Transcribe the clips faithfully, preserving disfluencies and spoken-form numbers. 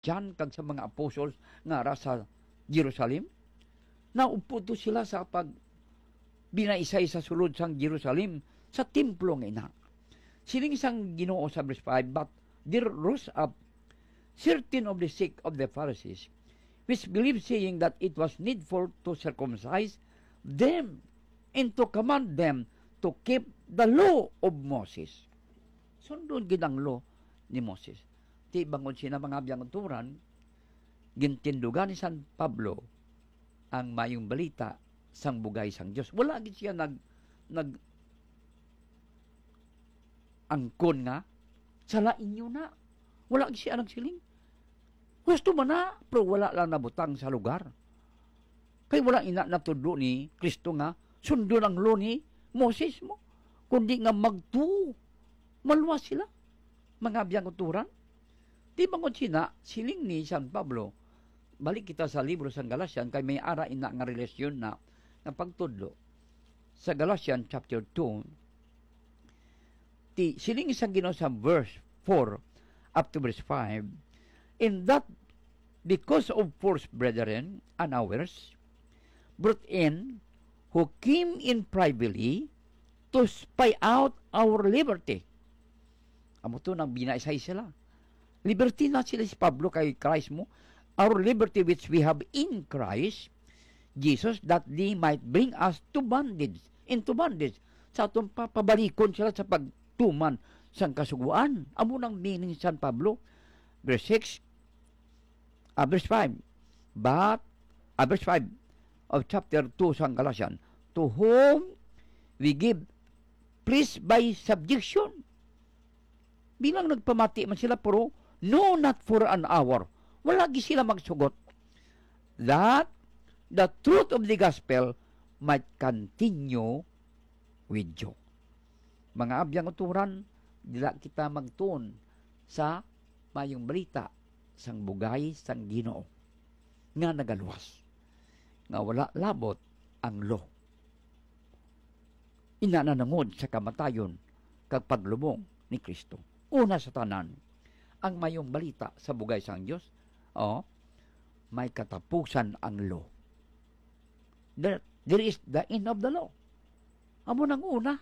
John kag sa mga apostles nga ara sa Jerusalem? Naupod to sila sa pag binaisay sa sulod sang Jerusalem, sa templo nga ina. Siling sang Ginoo sa verse five, "But there rose up certain of the sect of the Pharisees, which believed, saying that it was needful to circumcise them and to command them to keep the law of Moses." Sundon gid ang law ni Moses. Ti bangod sina, mga biyang uturan, gintindugan ni San Pablo ang mayong balita sang bugay sang Dios. Wala gid siya nag, nag angkon nga, "Sala inyo na." Wala gid siya nagsiling. Gusto man na, pero wala lang nabutang sa lugar. Kay wala ina natudlo ni Kristo nga sundon ang law ni Moses mo, kundi nga magtuo, maluwas sila, mga biyang uturan. Di bangod sina, siling ni San Pablo, balik kita sa libro sang Galatian, kay may ara ina nga relasyon na nga pagtudlo. Sa Galatians chapter two, ti, siling sang Ginoo sa verse four up to verse five, "In that, because of false brethren and ours, brought in, who came in privately to spy out our liberty." Amo to, nang binaisay sila. Liberty na sila si Pablo kay Christ mo. "Our liberty which we have in Christ Jesus, that they might bring us to bondage, into bondage." Sa atong pa, pabalikon sila sa pagtuman sang kasugoan. Amo nang meaning ni San Pablo. Verse six, ah, verse five. But, ah, verse five of chapter two sang Galatian, "To whom we give place by subjection." Bilang nagpamati man sila, pero, "No, not for an hour." Wala gid sila magsugot. "That the truth of the gospel might continue with you." Mga abiyang uturan, dila kita magtuon sa mayong balita sang bugay sang Ginoo nga nagaluwas, nga wala labot ang law. Ina nanungod sa kamatayon kag paglubong ni Kristo. Una sa tanan, ang mayong balita sa bugay sang Dios, oh, may katapusan ang law. There, there is the end of the law. Amo nang una,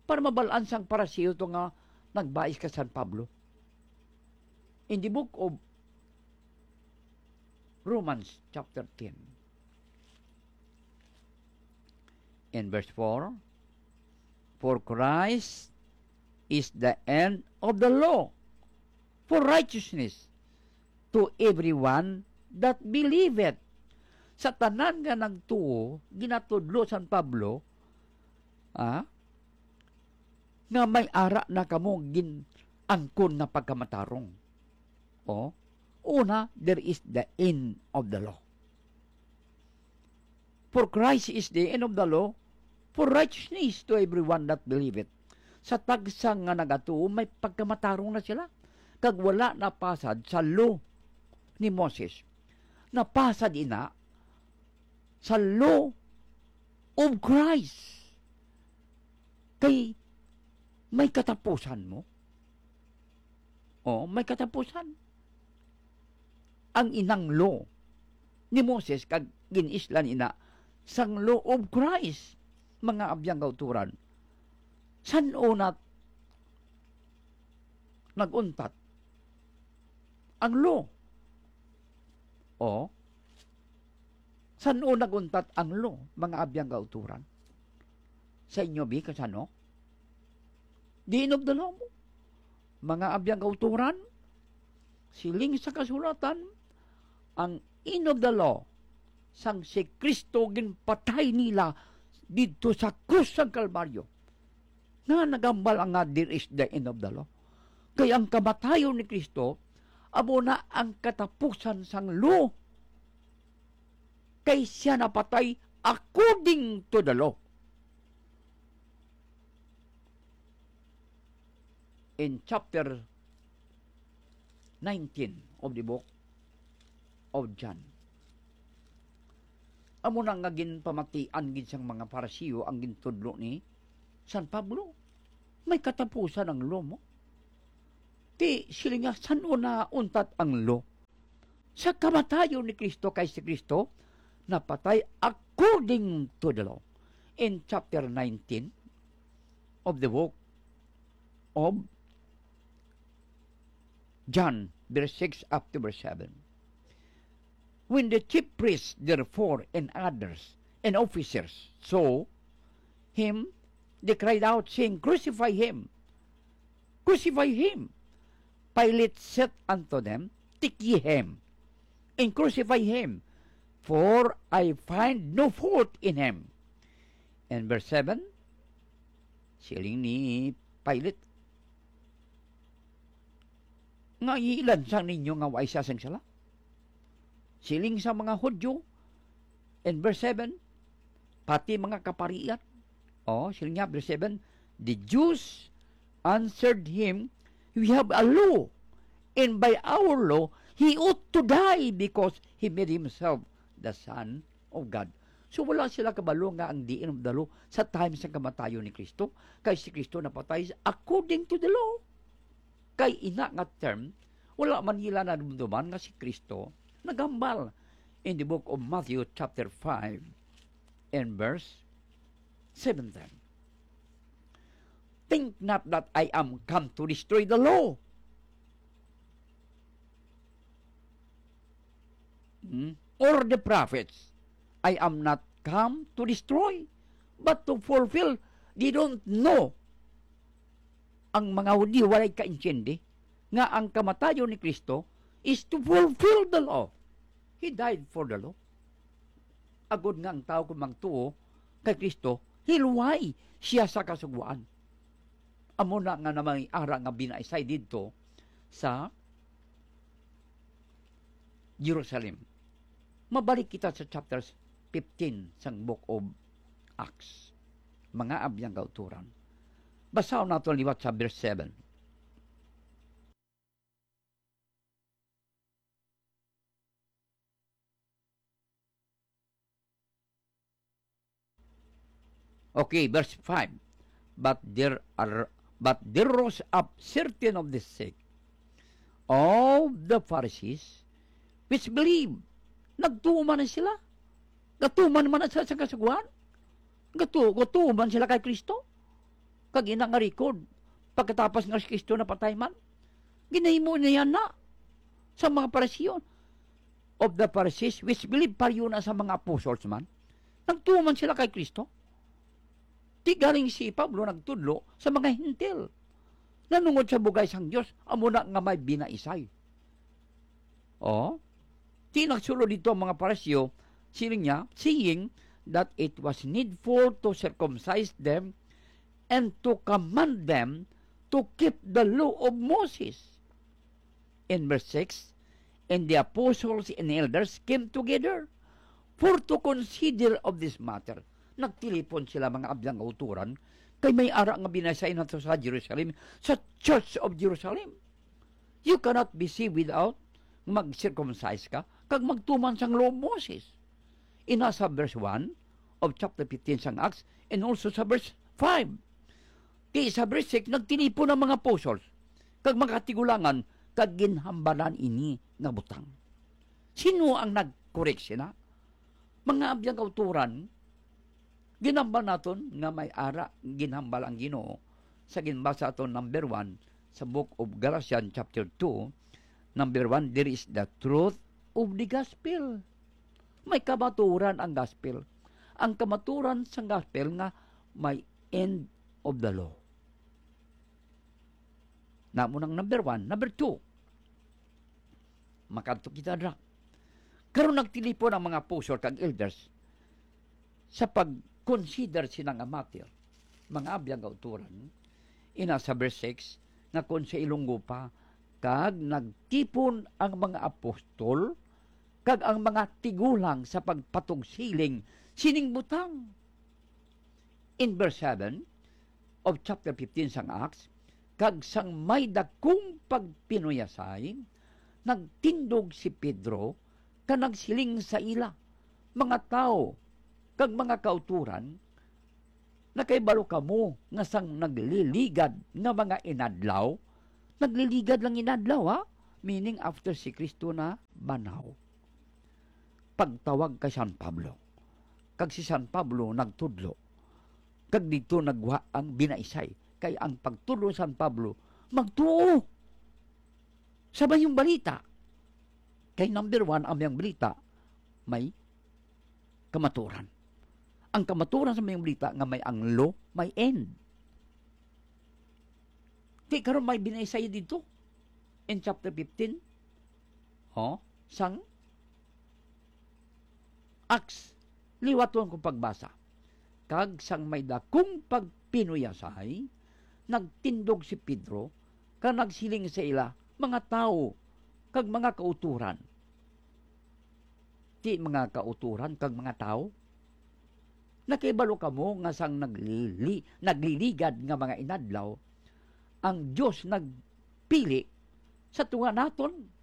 para mabalaan sang Pariseo to nga nagbais kay San Pablo. In the book of Romans chapter ten, in verse four, "For Christ is the end of the law for righteousness to everyone that believeth." Sa tanan nga nagtuo, ginatudlo San Pablo, ah, nga may ara na kamo gin-angkon nga pagkamatarong. O, una, there is the end of the law. "For Christ is the end of the law, for righteousness to everyone that believeth." Sa tagsa nga nagatuo, may pagkamatarong na sila, kag wala napasad sa law ni Moses. Napasad ina sa law of Christ. Kay may katapusan mo. Oh, may katapusan. Ang inang law ni Moses kag gin-islan ina sang law of Christ, mga abiyang kauturan. San-o na nag-untat ang law? O, san-o nag-untat ang law, mga abiyang kauturan? Sa inyo, bi, kasano? The end of the law mo. Mga abiyang kauturan, siling sa kasulatan, ang end of the law, sang si Kristo ginpatay nila didto sa krus sang Kalbaryo. Nga nagambal ang nga, "There is the end of the law." Kay ang kamatayon ni Kristo amo na ang katapusan sang law. Kay siya napatay according to the law. In chapter nineteen of the book of John, amo na nga ginpamatian gid sang mga Pariseo ang gintudlo ni San Pablo. May katapusan ang law mo. Ti, siling niya, san-o na untat ang law? Sa kamatayon ni Cristo, kay si Cristo napatay according to the law. In chapter nineteen of the book of John, verse six up to verse seven. When the chief priests, therefore, and others, and officers saw him, they cried out, saying, "Crucify him! Crucify him!" Pilate said unto them, "Take ye him, and crucify him, for I find no fault in him." And verse seven, siling ni Pilate, "Ngaa ilansang ninyo nga wala sia sing sala?" Siling sa mga Hudyo, in verse seven, pati mga kaparian. Oh, siling niya, verse seven, "The Jews answered him, 'We have a law, and by our law he ought to die, because he made himself the Son of God.'" So, wala sila kabalo nga ang diin of the law sa time sa kamatayon ni Cristo, kay si Cristo napatay according to the law. Kay ina nga term, wala man nila nadumduman nga si Cristo naghambal in the book of Matthew chapter five and verse seventeen. "Think not that I am come to destroy the law, hmm, or the prophets. I am not come to destroy, but to fulfill." They don't know. Ang mga Hudiyo walay kaintindi nga ang kamatayon ni Cristo is to fulfill the law. He died for the law. Agod nga ang tawo kung magtuo kay Cristo, hiluway siya sa Kasugoan. Amo na nga na may ara nga binaisay didto sa Jerusalem. Mabalik kita sa chapter fifteen sang Book of Acts. Mga abyan kauturan, basahon nato liwat sa verse seven. Okay, verse five. But there are, but there rose up certain of the sect of the Pharisees, which believe. Nagtuo man na sila. Gatuman man na sila sa Kasugoan. Gatu-, gatuman sila kay Cristo. Kag ina nga record, pagkatapos nga si Cristo napatay man, ginahimo niya na sa mga Pariseo, of the Pharisees, which believe, pareho na sa mga apostles man. Nagtuman sila kay Cristo. Ti galing si Pablo nagtudlo sa mga Hentil, nanungod sa bugay sang Dios, amo na nga may binaisay. Oh, ti nagsulod dito ang mga Pariseo, siling niya, saying that it was needful to circumcise them and to command them to keep the law of Moses. In verse six, "And the apostles and elders came together for to consider of this matter." Nagtilipon sila, mga abyan kauturan, kay may ara nga binaisay nato sa Jerusalem, sa Church of Jerusalem. You cannot be saved without mag-circumcise ka kag magtuman sang Law of Moses. Ina sa verse one of chapter fifteen sang Acts, and also sa verse five. Kay sa verse six, nagtilipon ang mga apostles kag mga katigulangan kag ginhambalan ini nga butang. Sino ang nag-correct sila? Mga abyan kauturan, ginhambal naton nga may ara ginhambal ang Ginoo sa ginbasa aton number one sa Book of Galatians chapter two. Number one, there is the truth of the gospel. May kamaturan ang gospel. Ang kamaturan sang gospel nga may end of the law. Namo nang number one. Number two, makadto kita dra. Karon nagtilipon ang mga apostol kag elders sa pag-consider sina nga matter. Mga abyan kauturan, ina sa verse six, nga kon sa ilunggo pa, kag nagtipon ang mga apostol kag ang mga tigulang sa pagpatugsiling sining butang. In verse seven of chapter fifteen sang Acts, kag sang may dakong pagpinuyasay, nagtindog si Pedro kag nagsiling sa ila, "Mga tawo kag mga kauturan, nakahibalo kamo nga sang nagliligad nga mga inadlaw," nagliligad lang inadlaw, ha? Meaning, after si Cristo na pagkabanhaw, pagtawag kay San Pablo. Kag si San Pablo nagtudlo, kag didto nagwa ang binaisay, kay ang pagtudlo ni San Pablo magtuo sa mayong balita. Kay number one, ang mayong balita may kamaturan. Ang kamaturan sa mayong balita nga may ang law, may end. Di karon may binaisay dito in chapter fifteen. Oh, sang Acts, liwaton ko pagbasa. Kag sang may dakong pagpinuyasay, nagtindog si Pedro, kag nagsiling sa ila, "Mga tawo kag mga kautoran." Ti mga kautoran kag mga tawo, nakahibalo kamo nga sang naglili-, nagliligad nga mga inadlaw, ang Dios nagpili sa tunga naton.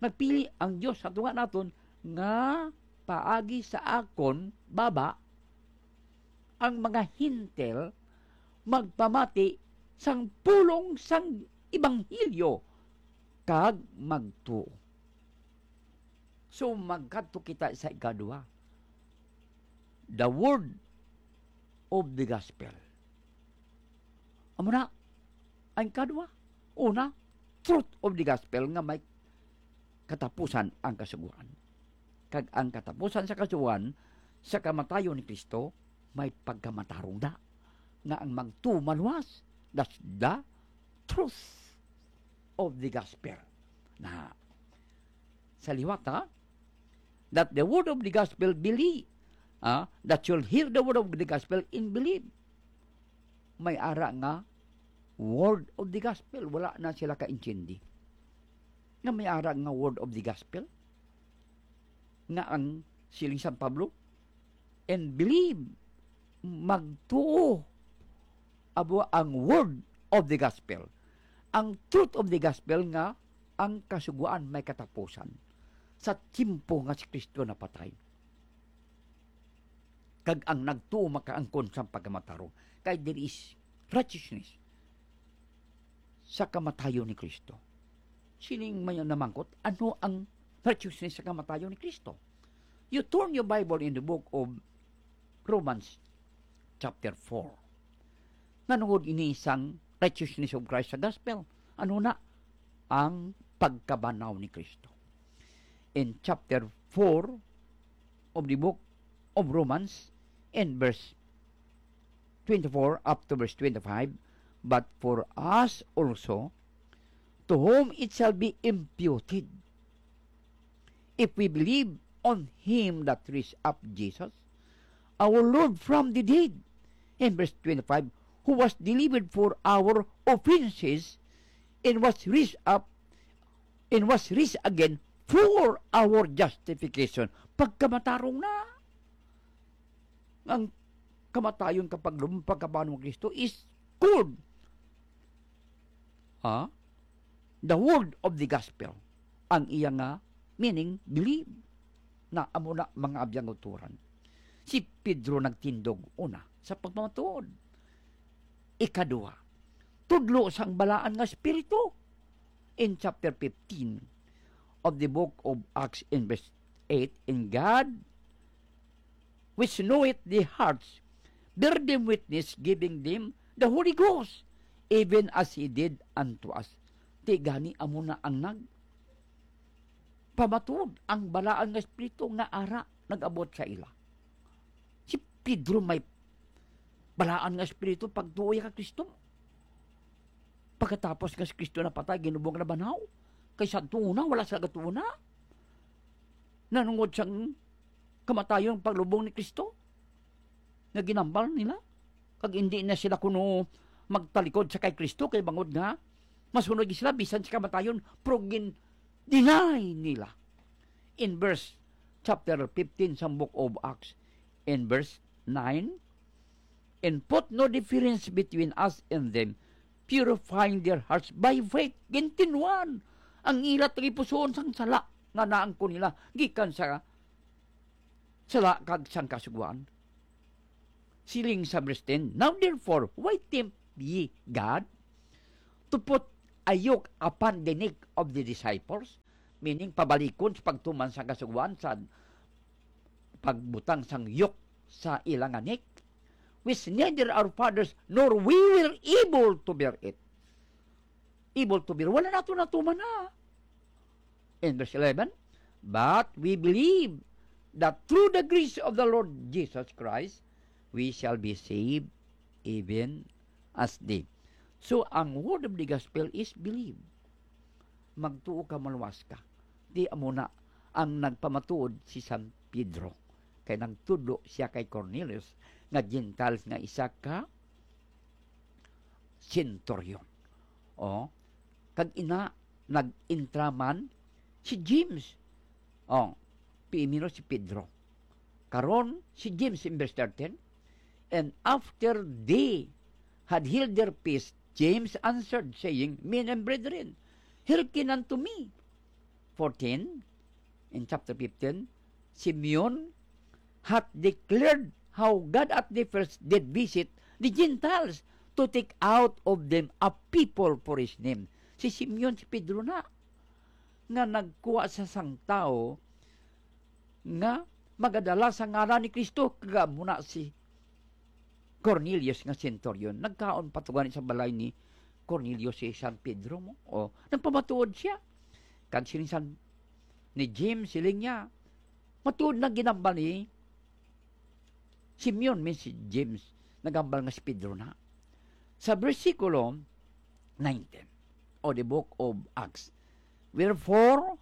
Nagpili ang Dios sa tunga naton nga paagi sa akon baba ang mga Hentil magpamati sang pulong sang ebanghelyo kag magtuo. So, magkadto kita sa ikadua. The word of the gospel. Amo na, ang ikadua. Una, truth of the gospel nga may katapusan ang Kasugoan. Kag ang katapusan sa Kasugoan, sa kamatayon ni Cristo, may pagkamatarong na nga ang magtuo maluwas. That's the truth of the gospel. Na, sa liwat, ha? That the word of the gospel believe. Ah, that you'll hear the word of the gospel and believe. May ara nga word of the gospel, wala na sila kaintindi. Nga may ara nga word of the gospel, nga ang siling San Pablo, "And believe," magtuo. Abo ang word of the gospel. Ang truth of the gospel nga ang Kasugoan may katapusan sa tiyempo nga si Cristo napatay. Kag ang nagtuo makaangkon sang pagkamatarong, kay there is righteousness sa kamatayon ni Cristo. Sining may namangkot, ano ang righteousness sa kamatayon ni Cristo? You turn your Bible in the book of Romans chapter four. Nanungod ini sang righteousness of Christ sa gospel. Ano na ang pagkabanhaw ni Cristo? In chapter four of the book of Romans, in verse twenty-four up to verse twenty-five, "But for us also, to whom it shall be imputed, if we believe on him that raised up Jesus, our Lord, from the dead," in verse twenty-five, "who was delivered for our offenses and was raised up, and was raised again for our justification." Pagkamatarong na. Ang kamatayon kag paglubong, pagkabanhaw ni Cristo is called, ha? The word of the gospel. Ang iya nga meaning, believe. Na amo na, mga abyan, kautoran. Si Pedro nagtindog, una, sa pagpamatuod. Ikadua, tudlo sang balaan nga espiritu. In chapter fifteen of the book of Acts, in verse eight, "And God, which knoweth the hearts, bear them witness, giving them the Holy Ghost, even as he did unto us." Ti gani, amo na ang nag-, pamatuod ang balaan nga espiritu nga ara nag-abot sa ila. Si Pedro may balaan nga espiritu pagtuo iya kay Cristo. Pagkatapos nga si Cristo napatay, ginubong na banhaw. Kay sa tuo na, wala sila gatuo na. Nanungod sang kamatayon, paglubong ni Cristo, nga ginambal nila. Kag hindi na sila kuno magtalikod sa kay Cristo, kay bangod nga masunod sila bisan sa kamatayon, pero gin-, deny nila. In verse, chapter fifteen sa book of Acts, in verse nine, "And put no difference between us and them, purifying their hearts by faith." Gintinwan ang ila tagipusoon sang sala nga naangkon nila gikan sa sala kag sang Kasugoan. Siling sa verse ten, "Now therefore, why tempt ye God to put a yoke upon the neck of the disciples meaning pabalikon sa pagtuman sa Kasugoan sa pagbutang sang yoke sa ila nga neck, which neither our fathers nor we were able to bear it. Able to bear. Wala nato natuman na. In verse eleven, "But we believe that through the grace of the Lord Jesus Christ, we shall be saved even as they." So, ang word of the gospel is believe. Magtuo ka, maluwas ka. Di amo na ang nagpamatuod si San Pedro. Kay nagtudlo siya kay Cornelius nga Gentiles nga isa ka centurion. O, kag ina, nag-intra man si James. O, primero si Pedro. Karon, si James in verse thirteen, "And after they had held their peace, James answered, saying, Men and brethren, hearken unto me." Fourteen, in chapter fifteen, "Simeon hath declared how God at the first did visit the Gentiles to take out of them a people for his name." Si Simeon, si Pedro na, nga nagkuha sa sang tawo nga magadala sa ngalan ni Kristo, kag amo na si Cornelius nga centurion. Nagkaon pa to gani sa balay ni Cornelius si San Pedro mo. O, nagpamatuod siya. Kag siling San, ni James, siling niya, matuod na ginambal ni Simeon, mean si James, nagambal nga si Pedro na. Sa bersikulo nineteen, o the book of Acts, "Wherefore,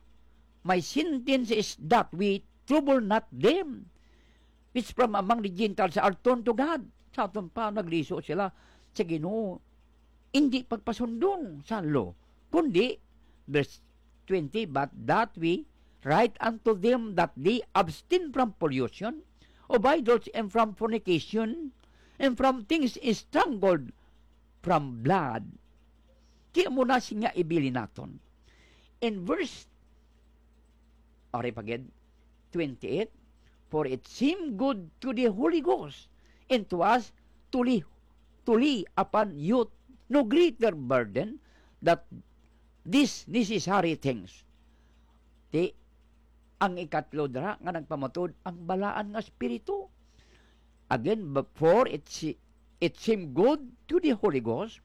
my sentence is that we trouble not them which from among the Gentiles are turned to God." Sa aton pa, nagliso sila sa Ginoo, hindi pagpasundon sa law, kundi, verse twenty, "But that we write unto them that they abstain from pollution of idols and from fornication and from things strangled from blood." Kaya mo na siya ibilin naton. In verse, ari pa gid, twenty-eight, "For it seemed good to the Holy Ghost and to us to lay, to lay upon you no greater burden that these necessary things." Di, ang ikatlo dira nga nagpamatuod ang balaan nga Espiritu. Again, "But for it, si-, it seemed good to the Holy Ghost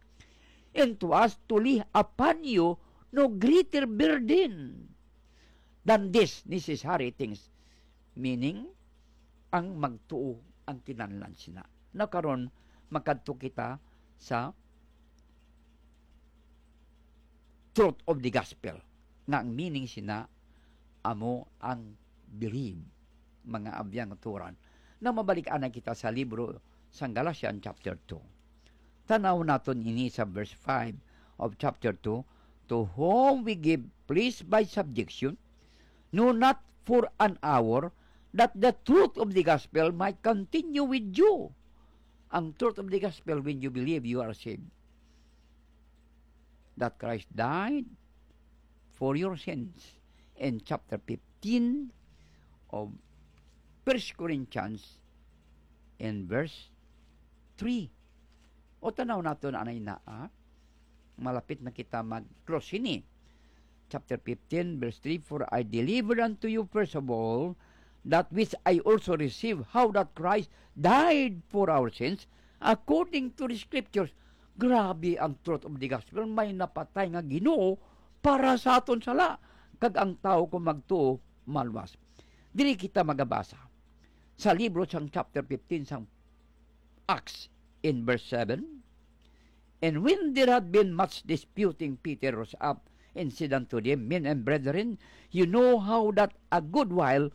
and to us to lay upon you no greater burden than these necessary things." Meaning, ang magtuo ang kinahanglan sina. Na karon, makadto kita sa truth of the gospel, nga ang meaning sina amo ang believe, mga abyan nga turan. Na mabalik anay kita sa libro sang Galatians chapter two. Tanaw naton ini sa verse five of chapter two, "To whom we give please by subjection, no, not for an hour, that the truth of the gospel might continue with you." Ang truth of the gospel, when you believe, you are saved. That Christ died for your sins. In chapter fifteen of First Corinthians, in verse three. O, tanaw naton anay na, ah. Malapit na kita mag-close ini. Chapter fifteen, verse three, "For I delivered unto you first of all that which I also received, how that Christ died for our sins according to the Scriptures." Grabe ang truth of the gospel. May napatay nga Ginoo para sa aton sala, kag ang tawo kung magtuo, maluwas. Diri kita magabasa sa libro sang chapter fifteen sang Acts, in verse seven, "And when there had been much disputing, Peter rose up and said unto them, Men and brethren, you know how that a good while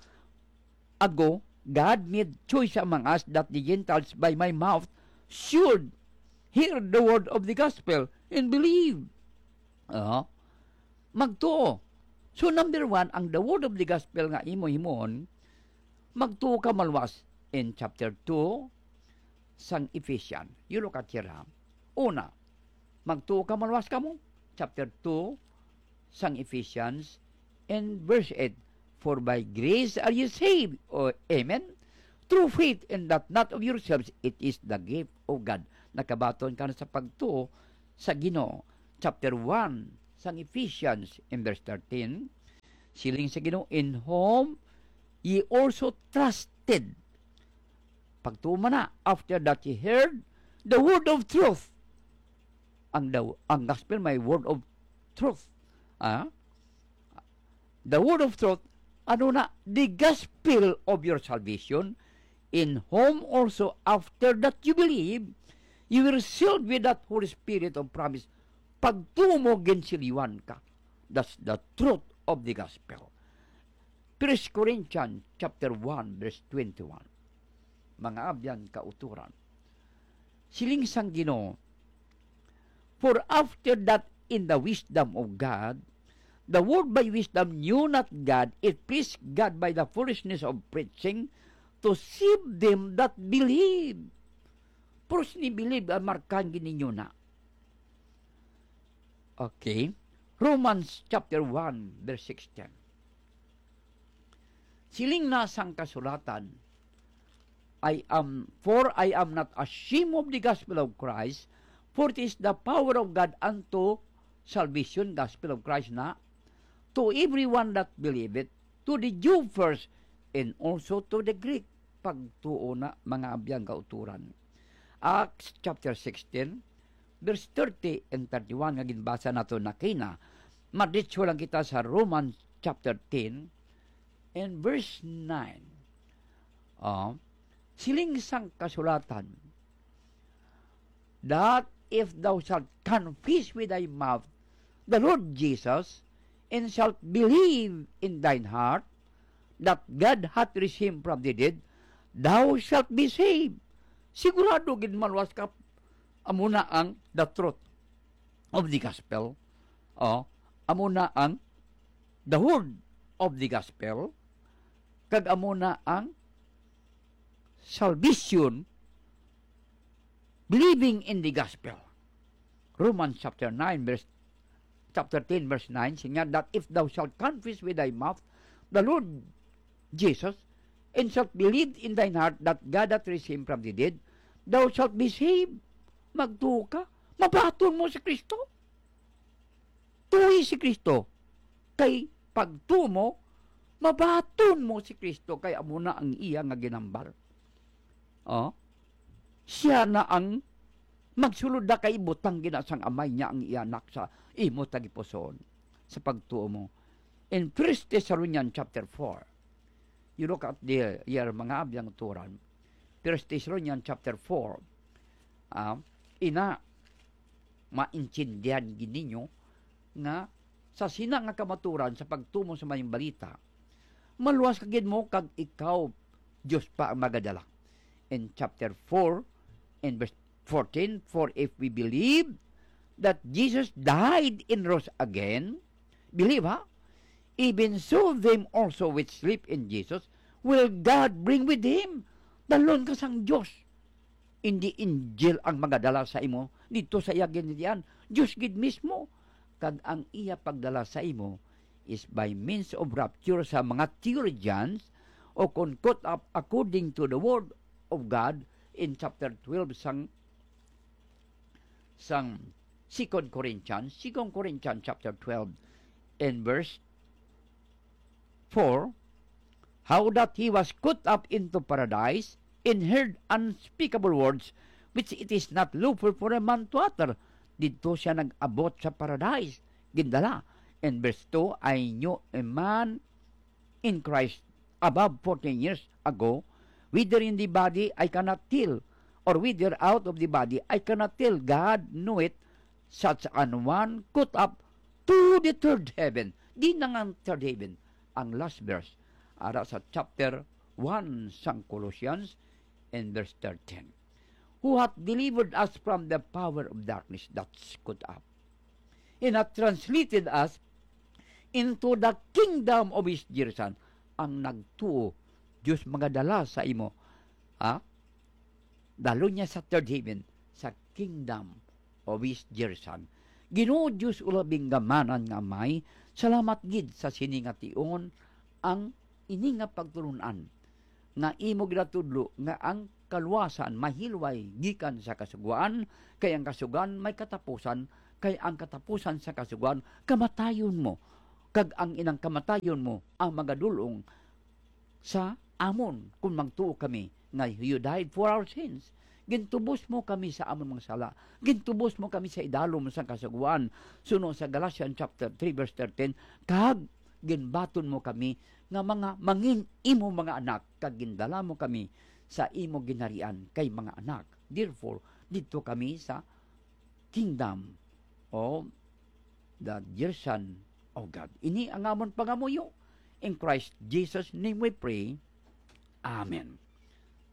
ago God made choice among us that the Gentiles by my mouth should hear the word of the gospel and believe." Ah, magtuo. So, number one, ang the word of the gospel nga imo himuon, magtuo ka maluwas in chapter two sang Ephesians. You look at here, ha? Una, magtuo ka maluwas kamo. Chapter two sang Ephesians and verse eight, "For by grace are you saved." O, amen? "Through faith, and that not of yourselves, it is the gift of God." Nakabaton ka na sa pagtuo sa Ginoo. Chapter one sang Ephesians in verse thirteen, Siling sa Ginoo, "In whom ye also trusted." Pagtuo man na, "After that ye heard the word of truth." Ang daw, ang gospel may word of truth. Ah? The word of truth, ano na, the gospel of your salvation, in whom also after that you believe, you were sealed with that Holy Spirit of promise. Pagtuo mo, ginsilyuhan ka. That's the truth of the gospel. First Corinthians chapter one, verse twenty-one. Mga abyan, kauturan. Siling sang Ginoo, "For after that in the wisdom of God, the world by wisdom knew not God, it pleased God by the foolishness of preaching to save them that believe." Pero sini believe ang markahan gid ninyo na. Okay. Romans chapter one, verse sixteen. Siling na sang kasulatan, "I am, for I am not ashamed of the gospel of Christ, for it is the power of God unto salvation," gospel of Christ na, "to everyone that believeth, to the Jew first, and also to the Greek." Pagtuo na, mga abyan, kauturan. Acts chapter sixteen, verse thirty and thirty-one nga ginbasa nato na kina. Maditso lang kita sa Romans chapter ten and verse nine. Oh, siling sang kasulatan, that if thou shalt confess with thy mouth the Lord Jesus, and shalt believe in thine heart that God hath raised him from the dead, thou shalt be saved. Sigurado gid maluwas ka. Amo na ang the truth of the gospel. Oh, amo na ang the word of the gospel, kag amo na ang salvation, believing in the gospel. Romans chapter nine, verse, chapter ten, verse nine, siya nga, "That if thou shalt confess with thy mouth the Lord Jesus, and shalt believe in thine heart that God hath raised him from the dead, thou shalt be saved." Magtuo ka, mabaton mo si Kristo. Tuoy si Kristo, kay pagtuo mo, mabaton mo si Kristo, kay amo na ang iya nga ginambal. Oh? Siya na ang magsulod na kay butang gina sang Amay niya ang iya anak sa imo tagipusoon sa pagtuo mo. In First Thessalonians chapter four, you look at the, here, mga abyan, kauturan. First Thessalonians chapter four, ah, ina, maintindihan gid ninyo nga sa sina nga kamaturan sa pagtumo sa mayong balita, maluwas ka gid mo kag ikaw, Dios pa ang magadala. In chapter four, in verse fourteen, "For if we believe that Jesus died and rose again," believe, ha? "Even so them also which sleep in Jesus will God bring with him." Dalon ka sang Dios. Hindi angel ang magadala sa imo didto sa iya ginharian. Dios gid mismo. Kag ang iya pagdala sa imo is by means of rapture sa mga theologians, o kon caught up according to the word of God in chapter twelve sang, sang Second Corinthians, Second Corinthians chapter twelve and verse four, "How that he was caught up into paradise, and heard unspeakable words, which it is not lawful for a man to utter." Didto siya nag-abot sa paradise, gindala. In verse two, "I knew a man in Christ above fourteen years ago, whether in the body I cannot tell, or whether out of the body I cannot tell. God knew it, such an one caught up to the third heaven." Di na nga ang third heaven, ang last verse, ara sa chapter one sang Colossians, in verse thirteen. "Who hath delivered us from the power of darkness," that's caught up, "and hath translated us into the kingdom of his dear Son." Ang nagtuo, Dios magadala sa imo. Ha? Dalo niya sa third heaven, sa kingdom of his dear Son. Ginoo Dios, ulabing gamanan nga Amay, salamat gid sa sini nga tion, ang ini nga pagtulon-an nga imo ginatudlo nga ang kaluwasan mahilway gikan sa Kasugoan, kay ang Kasugoan may katapusan, kay ang katapusan sa Kasugoan kamatayon mo. kag ang inang kamatayon mo ang magadul-ong sa amon, kon magtuo kami nga you died for our sins. Gintubos mo kami sa amon mga sala. Gintubos mo kami sa idalom sang Kasugoan, suno sa Galatians chapter three, verse thirteen, kag ginbaton mo kami nga mga mangin imo mga anak, kag gindala mo kami sa imo ginharian kay mga anak. Therefore, didto kami sa kingdom of the dear Son of God. Ini ang amon pangamuyo. In Christ Jesus' name we pray. Amen.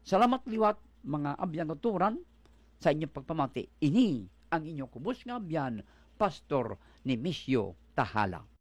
Salamat liwat, mga abyan nga turan, sa inyong pagpamati. Ini ang inyong kubos nga abyan, Pastor Nemesio Tahala.